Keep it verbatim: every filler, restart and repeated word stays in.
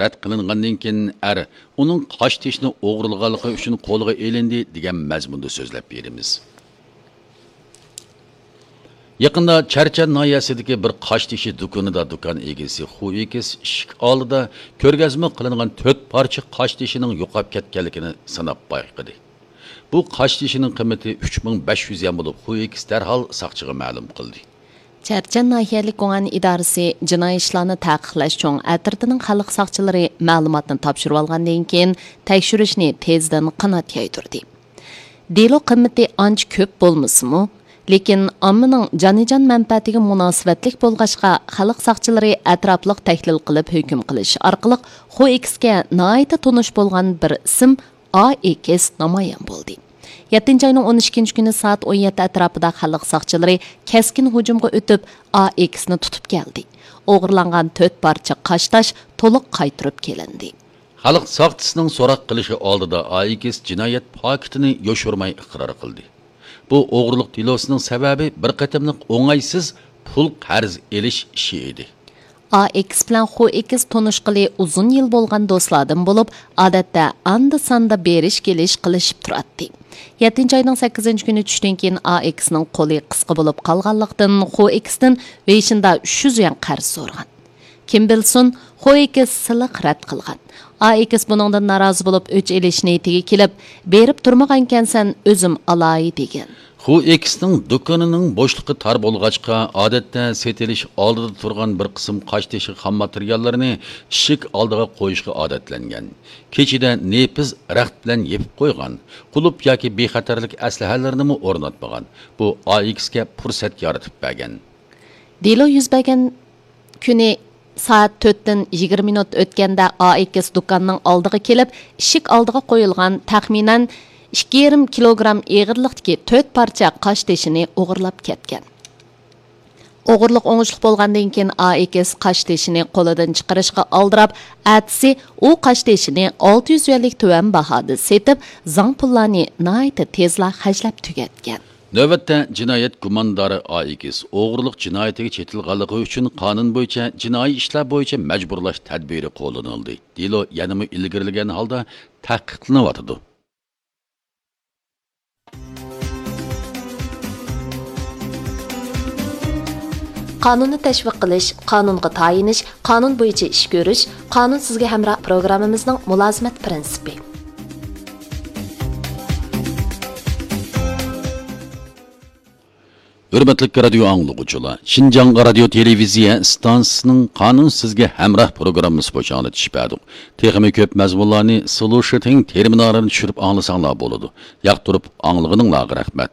رەت قىلىنغاندىن كېيىن، ئەر ئۇنىڭ قاشتېشىنى ئوغرىلىغانلىقى ئۈچۈن قولغا ئېلىندى، دېگەن مەزمۇندا سۆزلەپ بېرىمىز. يېقىندا چەرچەن ناھىيەسىدىكى بىر قاشتېشى دۇكىنىدا دۇكان ئىگىسى خۇ ئېكىس ئىشىك ئالدىدا كۆرگەزمە قىلىنغان تۆت پارچە قاشتېشىنىڭ يوقاپ كەتكەنلىكىنى سىناپ بايقىدى. بۇ قاشتېشىنىڭ قىممىتى ئۈچ مىڭ بەش يۈز يۈەن بولۇپ، خۇ ئېكىس دەرھال ساقچىغا مەلۇم قىلدى. چەرچەن ناھىيەلىك گۇڭئەن ئىدارىسى جىنايى ئىشلارنى تەقىقلەش چوڭ ئەترىتىنىڭ خەلق ساقچىلىرى مەلۇماتنى تاپشۇرۇۋالغاندىن كېيىن، تەكشۈرۈشنى تېزدىن قانات يايدۇردى. دېلو قىممىتى ئانچە كۆپ بولمىسىمۇ، لېكىن ئاممىنىڭ جانىجان مەنپەئەتىگە مۇناسىۋەتلىك بولغاچقا، خەلق ساقچىلىرى ئەتراپلىق تەھلىل قىلىپ ھۆكۈم قىلىش ئارقىلىق خۇ ئېكىسكە ناھايىتى تونۇش بولغان بىر ئىسىم ئا ئېكىس نامايان بولدى. يەتتىنچى ئاينىڭ ئون ئىككىنچى كۈنى سائەت ئون يەتتە ئەتراپىدا خەلق ساقچىلىرى كەسكىن ھۇجۇمغا ئۆتۈپ، ئا ئېكىسنى تۇتۇپ كەلدى. ئوغرىلانغان تۆت پارچە قاشتاش تولۇق قايتۇرۇپ كېلىندى. خەلق ساقچىسىنىڭ سوراق قىلىشى ئالدىدا ئا ئېكىس جىنايەت پاكىتىنى يوشۇرماي ئىقرار قىلدى. بۇ ئوغرىلىق دېلوسىنىڭ سەۋەبى بىر قېتىملىق ئوڭايسىز پۇل قەرز ئېلىش ئىشى ئىدى. ئا ئېكىس بىلەن خۇ ئېكىس تونۇشقىلى ئۇزۇن يىل بولغان دوستلاردىن بولۇپ، ئادەتتە ئاندا-ساندا بېرىش-كېلىش قىلىشىپ تۇراتتى. يەتتىنچى ئاينىڭ سەككىزىنچى كۈنى چۈشتىن كېيىن ئا ئېكىسنىڭ قولى قىسقا بولۇپ قالغانلىقتىن، خۇ ئېكىستىن بېشىندا ئۈچ يۈز يۈەن قەرز سورىغان. كىم بىلسۇن، خۇ ئېكىس سىلىق رەت قىلغان. ئا ئېكىس بۇنىڭدىن نارازى بولۇپ، ئۆچ ئېلىش نىيىتىگە كېلىپ، بېرىپ تۇرمىغانكەنسەن، ئۆزۈم ئالاي، دېگەن. خۇ ئېكىسنىڭ دۇكىنىنىڭ بوشلۇقى تار بولغاچقا، ئادەتتە سېتىلىش ئالدىدا تۇرغان بىر قىسىم قاشتېشى خام ماتېرىياللىرىنى ئىشىك ئالدىغا قويۇشقا ئادەتلەنگەن. كېچىدە نېپىز رەخت بىلەن يېپىپ قويغان، قۇلۇپ ياكى بىخەتەرلىك ئەسلىھەلىرىنىمۇ ئورناتمىغان. بۇ ئا ئېكىسكە پۇرسەت يارىتىپ بەرگەن. دېلو يۈز بەرگەن كۈنى سائەت تۆتتىن يىگىرمە مىنۇت ئۆتكەندە، ئا ئېكىس دۇكاننىڭ ئالدىغا كېلىپ، ئىشىك ئالدىغا قويۇلغان تەخمىنەن ئىككى يېرىم كىلوگرام ئېغىرلىقتىكى تۆت پارچە قاشتېشىنى ئوغرىلاپ كەتكەن. ئوغرىلىق ئوڭۇشلۇق بولغاندىن كېيىن، ئا ئېكىس قاشتېشىنى قولىدىن چىقىرىشقا ئالدىراپ، ئەتىسى ئۇ قاشتېشىنى ئالتە يۈز يۈەنلىك تۆۋەن باھادا سېتىپ، زاڭ پۇللارنى ناھايىتى تېزلا خەجلەپ تۈگەتكەن. نۆۋەتتە جىنايەت گۇماندارى ئا ئېكىس ئوغرىلىق جىنايىتىگە چېتىلغانلىقى ئۈچۈن قانۇن بويىچە جىنايى ئىشلار بويىچە مەجبۇرلاش تەدبىرى قوللىنىلدى. دېلو يەنىمۇ ئىلگىرىلىگەن ھالدا تەھقىقلىنىۋاتىدۇ. قانۇننى تەشۋىق قىلىش، قانۇنغا تايىنىش، قانۇن بويىچە ئىش كۆرۈش، قانۇن سىزگە ھەمراھ پروگراممىمىزنىڭ مۇلازىمەت پىرىنسىپى. ھۆرمەتلىك رادىيو ئاڭلىغۇچىلار، شىنجاڭ رادىيو تېلېۋىزىيە ئىستانسىسىنىڭ قانۇن سىزگە ھەمراھ پروگراممىسى بويىچە ئاڭلىتىش بەردۇق. تېخىمۇ كۆپ مەزمۇنلارنى سلۇشىتىڭ تېرمىنالىنى چۈشۈرۈپ ئاڭلىساڭلار بولىدۇ. ياقتۇرۇپ ئاڭلىغىنىڭلارغا رەھمەت.